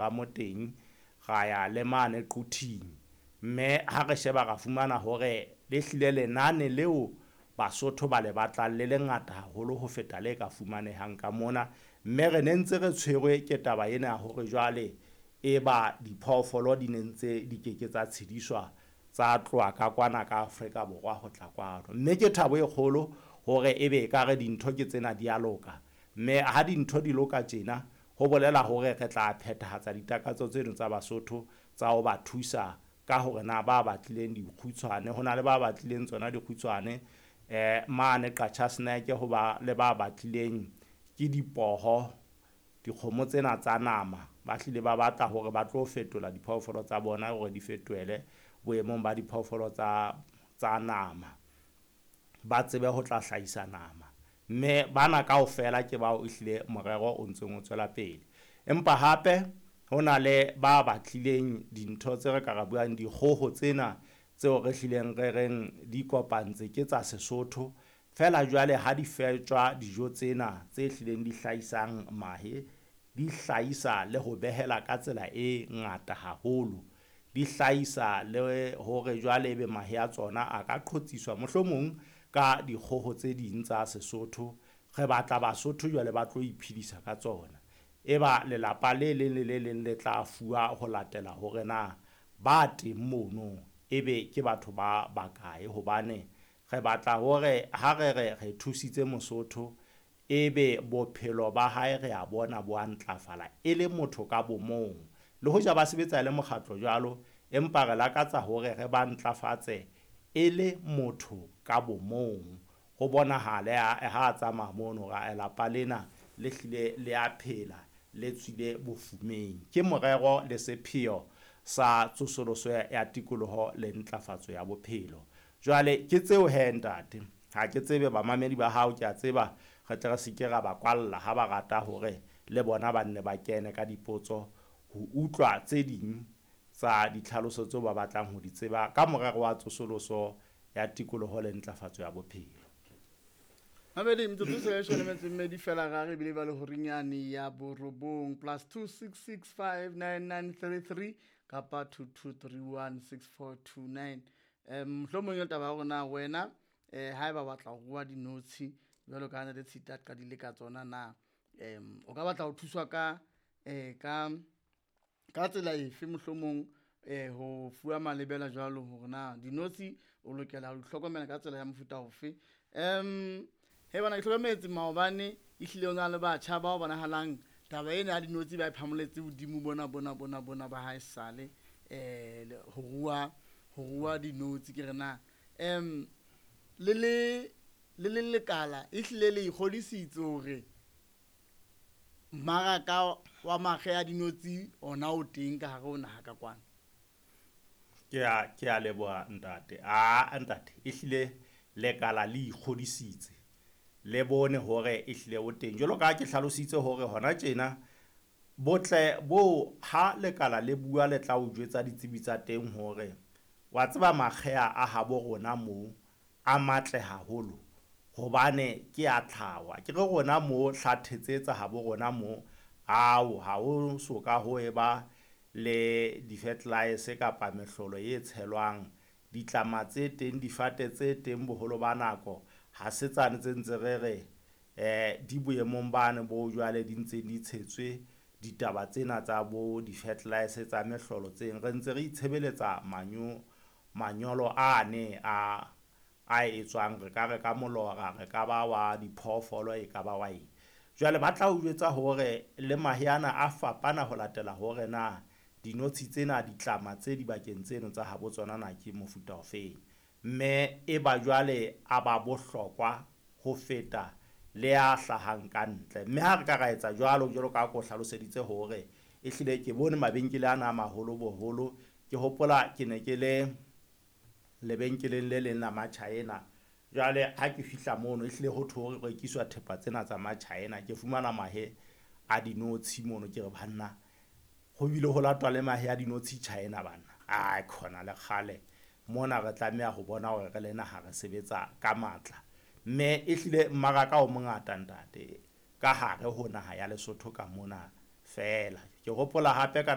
Ba mo teng, ra ya le mane Quthing. Mme ha re sheba ra fumana hore le hlile lenane leo Basotho ba le batlang le lengata haholo ho feta le ka fumanehang ka mona. Mme re ne ntse re tshwerwe ke taba ena ya hore jwale e ba diphoofolo di ne ntse di keke tsa tshediswa tsa tloha ka kwana ka Afrika Borwa ho tla kwano. Mme ke thabo e kgolo hore ebe ekare dintho ke tsena di a loka. Mme ha dintho di loka tjena, ho bolela hore re tla phethahatsa ditakatso tseno tsa Basotho tsa ho ba thusa ka hore na ba batlileng dikgutshwane, ho na le ba batlileng tsona dikgutshwane mane Qacha's Nek, ho ba le ba batlileng ke dipoho, dikgomo tsena tsa nama, ba hlile ba batla hore ba tlo fetola diphoofolo tsa bona hore di fetohele boemong ba diphoofolo tsa nama, ba tsebe ho tla hlahisa nama. Mme bana kaofela ke bao ehlile morero o ntseng o tswela pele. Empa hape ho na le ba batlileng dintho tse re ka ra buang dikgoho tsena tseo re hlileng re reng di kopantse ke tsa Sesotho. Feela jwale ha di fetjwa dijo tsena tse hlileng di hlahisang mahe, di hlahisa le ho behela ka tsela e ngata haholo. Di hlahisa le hore jwale ebe mahe a tsona a ka qhotsiswa mohlomong ka dikgoho tse ding tsa Sesotho. Re batla Basotho jwale ba tlo iphedisa ka tsona. Eba lelapa le leng le le leng le tla fuwa ho latela hore na ba teng mono ebe ke batho ba bakae, hobane re batla hore ha re re re thusitse Mosotho ebe bophelo ba hae re a bona bo a ntlafala e le motho ka bomong. Le hoja ba sebetsa e le mokgatlo jwalo, empa re lakatsa hore re ba ntlafatse e le motho ka bomong. Ho bonahale ha a tsamaya mono hore lapa lena le hlile le a phela, le tswile bofumeng. Ke morero le sepheo sa tsosoloso ya tikoloho le ntlafatso ya bophelo. Jwale ke tseo he ntate, ha ke tsebe bamamedi ba hao, ke a tseba re tle re se ke ra ba kwalla ha ba rata hore le bona ba nne ba kene ka dipotso ho utlwa tse ding tsa ditlhaloso tseo ba batlang ho di tseba ka morero wa tsosoloso ya tikoloho le ntlafatso ya bophelo. Mamedi, metsotso se leshome le metso e mmedi fela ra re ebile ba le horinyane ya borobong +266 59933 kapa 22316429. Mohlomong e taba ya hore na wena haeba o batla ho rua dinotshi jwalo ka ha le Tshita a qadile ka tsona na, o ka batla ho thuswa ka tsela efe, mohlomong ho fuwa malebela jwalo hore na dinotshi o lokela ho di hlokomela ka tsela ya mofuta ofe. He bana, ke hlokometse maobane ehlile o na le batjha bao bonahalang taba ena ya dinotshi ba e phamoletse hodimo bona bona bona bona ba hae sale ho rua dinotshi. Ke re na le le lekala ehlile le ikgodisitse hore mmaraka wa makge a dinotshi ona o teng ka hare ho naha ka kwana? Ke a leboha, ntate. A ntate, ehlile lekala le ikgodisitse, le bone hore ehlile o teng. Jwalo ka ha ke hlalositse hore hona tjena botle bo ha lekala le bua, le tla o jwetsa ditsebi tsa teng hore wa tseba makgeha a habo rona moo a matle haholo hobane ke a tlhaho. Ke re rona mo hlathetse tsa habo rona mo ao ha ho so ka ho eba le di-fertilizer kapa mehlolo e tshelwang. Ditlama tse teng, difate tse teng, boholo ba nako ha se tsane tse ntse re re di boemong bane bo jwale di ntse di tshetswe ditaba tsena tsa bo di-fertilizer tsa mehlolo tseng. Re ntse re itshebeletsa manyolo ane a etswang, re ka re ka molora, re ka ba wa diphoofolo, e ka ba wa eng. Jwale ba tla o jwetsa hore le mahe ana a fapana ho latela hore na dinotshi tsena, ditlama tse dibakeng tseno tsa habo tsona na ke mofuta ofeng, mme e ba jwale a ba bohlokwa ho feta le a hlahang ka ntle. Mme ha re ka ra etsa jwalo, jwalo ka ha ko hlaloseditse hore ehlile ke bone mabenkele ana a maholo boholo. Ke hopola ke ne ke le lebenkeleng le leng la Machina. Jwale ha ke fihla mono, ehlile ho thwe ho rekiswa thepa tsena tsa Machina. Ke fumana mahe a dinotshi mono, ke re banna, ho bile ho latwa le mahe a dinotshi China banna. Ai khona le kgale mona re tlameha ho bona hore re le naha re sebetsa ka matla. Mme ehlile mmaraka o mongata, ntate, ka hare ho naha ya Lesotho ka mona. Feela ke hopola hape ka